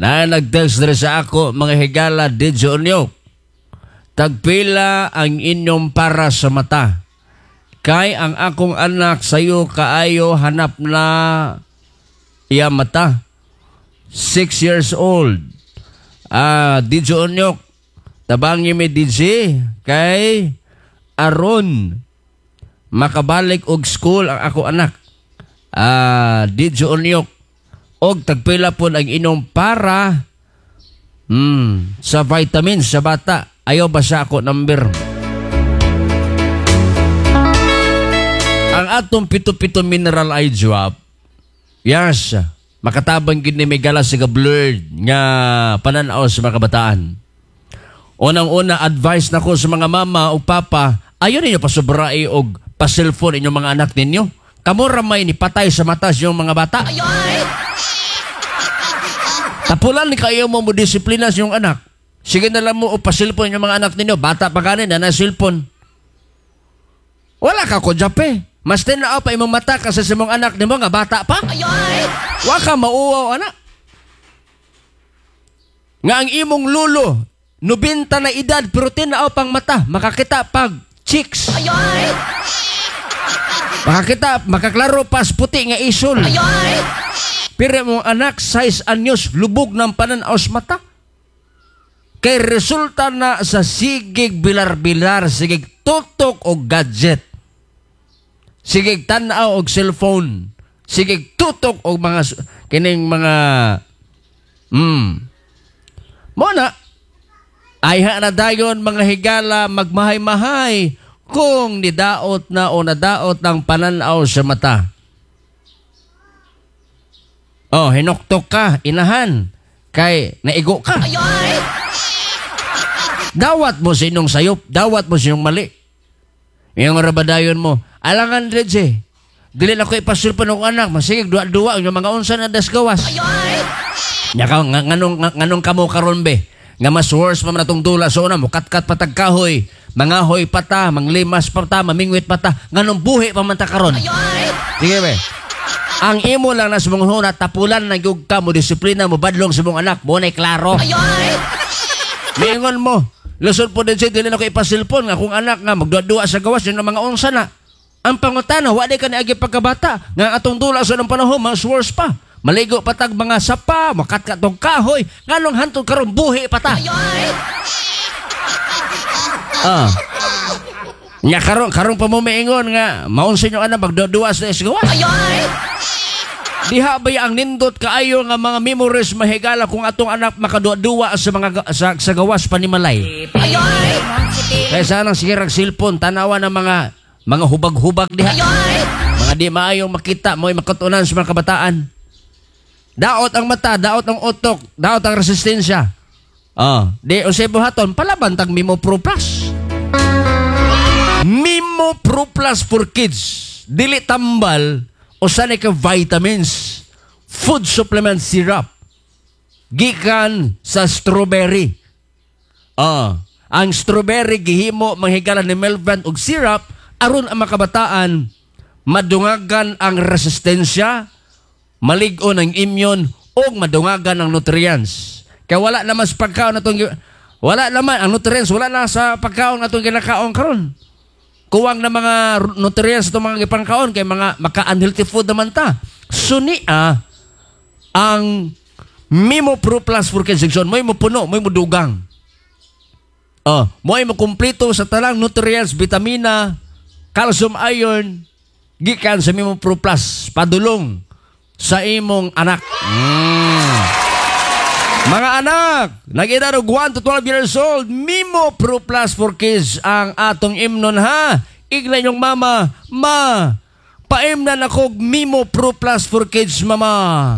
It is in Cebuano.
Na nag-text diri sa ako, mga higala, Didyo Onyok. Tagpila ang inyong para sa mata. Kay ang akong anak sayo kaayo, hanap na iya mata. 6 years old. Ah, Didyo Onyok. Tabangi mi DJ kay aron makabalik og school ang ako anak. Ah, Didyo Onyok. Og tagpila pod ang inyong para sa vitamins sa bata. Ayaw ba sa ako number? Ang atong pito-pito mineral eye drop, yes, makatabang gid ni may gala sa blurred nga pananaw sa mga kabataan. Unang-una, advice nako sa mga mama o papa, ayaw ninyo pasubrai og pa-cellphone inyong mga anak ninyo. Kamo ra may ni patay sa mata sa inyong mga bata. Tapulan ni kayo mo mo disiplina sa inyong anak. Sige na lang mo o pa-cellphone inyong mga anak ninyo. Bata pa kanin na na cellphone. Wala ka ko jape. Mas tinaaw pa imong mata kasi sa imong anak nimo nga bata pa. Wa ka mauwaw, anak. Nga ang imong lulo, 90 na edad pero tinaaw pang mata, makakita pag chicks. Makakita, makaklaro pas puti nga isol. Pero imong anak, 6 anyos, lubog ng pananaw sa mata. Kay resulta na sa sigig bilar-bilar, sigig tutok og gadget. Sigig tan-aw og cellphone. Sigig tutok og mga kining mga Mo na ayha na dayon, mga higala, magmahay-mahay kung nidaot na o nadaot ng pananaw sa mata. Oh, hinuktok ka, inahan. Kay naigo ka. Dawat mo sa inyong sayop, dawat mo sa inyong mali. Yung rabadayon mo, alangan Reggie. Dili na ko ipa-cellphone akong anak, masigig duwa-duwa ang mga unsa na das gawas. Nya ka nga, nganong kamo karon be? Nga mas worse pa man atong dula so una, mukatkat patag kahoy, mangahoy pata, manglimas pata, mamingwit pata, nganong buhi pa man ta karon? Sige be. Ang imo lang na sa mong huna, tapulan na gyud ka mo disiplina mo badlong sa mong anak, mo na'y klaro. Miingon mo, lusod po din siya, dili na ko ipa-cellphone nga kung anak nga magduwa-duwa sa gawas, yun ang mga unsa na. Ang pangutana, wa di ka niagi pagkabata, nga atong dula sa ng panahon, mas worse pa. Maligo patag mga sapa, makatkat og kahoy, nganong hantod karon buhi pa ta. Ah. Nya karon pa mo miingon nga maunsa inyo anak magduwa-duwa sa gawas. Diha ba ang nindot kaayo nga mga memories, mahigala, kung atong anak makaduwa-duwa sa mga sa gawas panimalay. Kaya sana sige rag cellphone, tanawa ng mga hubag-hubag diha. Mga di maayong makita mo'y makatunan sa mga kabataan. Daot ang mata, daot ang utok, daot ang resistensya. Oh, di unsay buhaton palaban tag Mimo Pro Plus. Mimo Pro Plus for Kids. Dili tambal, usa ni ka vitamins, food supplement syrup. Gikan sa strawberry. Ah, ang strawberry gihimo, manghigala, ni Melvin og syrup aron ang makabataan madungagan ang resistensya, malig-on ang immune ug madungagan ang nutrients. Kaya wala naman sa pagkaon atong wala naman ang nutrients, wala na sa pagkaon atong ginakaon karon. Kuwang na mga nutrients atong mga gipangkaon kay mga maka-unhealthy food naman ta. Sunia ang Mimo Pro Plus for Kids section, mo'y mo puno, mo'y mo dugang. Oh, mo'y mo kumpleto sa talang nutrients, vitamina, calcium, iron, gikan sa Mimo Pro Plus, padulong sa imong anak. Mga anak, nag-edad og 1 to 12 years old, Mimo Pro Plus for Kids ang atong imnon ha. Igla inyong mama, "Ma, paimnan ako og Mimo Pro Plus for Kids, mama."